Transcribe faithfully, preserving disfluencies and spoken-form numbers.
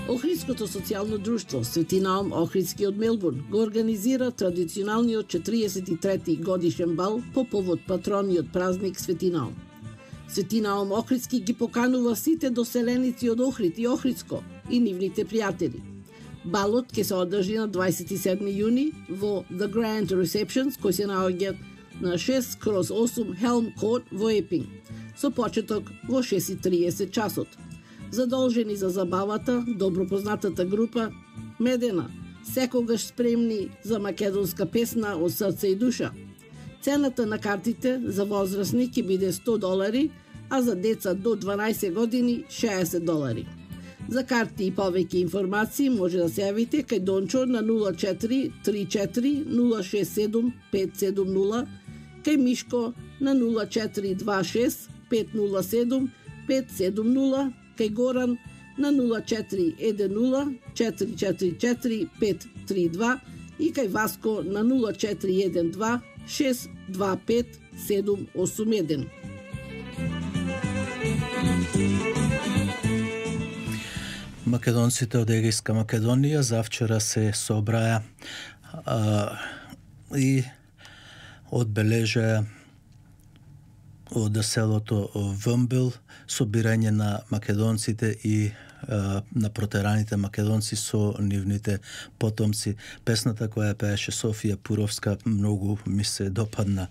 Охридското социјално друштво Свети Наум Охридски од Мелбурн го организира традиционалниот четириесет и трети годишен бал по повод патрониот празник Свети Наум. Свети Наум Охридски ги поканува сите доселеници од Охрид и Охридско и нивните пријатели. Балот ќе се одржи на дваесет и седми јуни во The Grand Receptions, кој се наоѓа на шест кроз осум Helm Court во Епинг, со почеток во шест и триесет часот. Задолжени за забавата, добро познатата група Медена, секогаш спремни за македонска песна од срце и душа. Цената на картите за возрастни ќе биде сто долари, а за деца до дванаесет години шеесет долари. За карти и повеќе информации може да се јавите кај Дончо на нула четири три четири нула шест седум пет седум нула, кај Мишко на нула четири два шест пет нула седум пет седум нула, кај Горан на нула четири еден нула четири четири четири пет три два и кај Васко на нула четири еден два шест два пет седум осум еден. Македонците од Егејска Македонија завчера се собраја а, и одбележаа од селото Вмбел собирање на македонците и а, на протераните македонци со нивните потомци. Песната која пееше Софија Пуровска многу ми се допадна.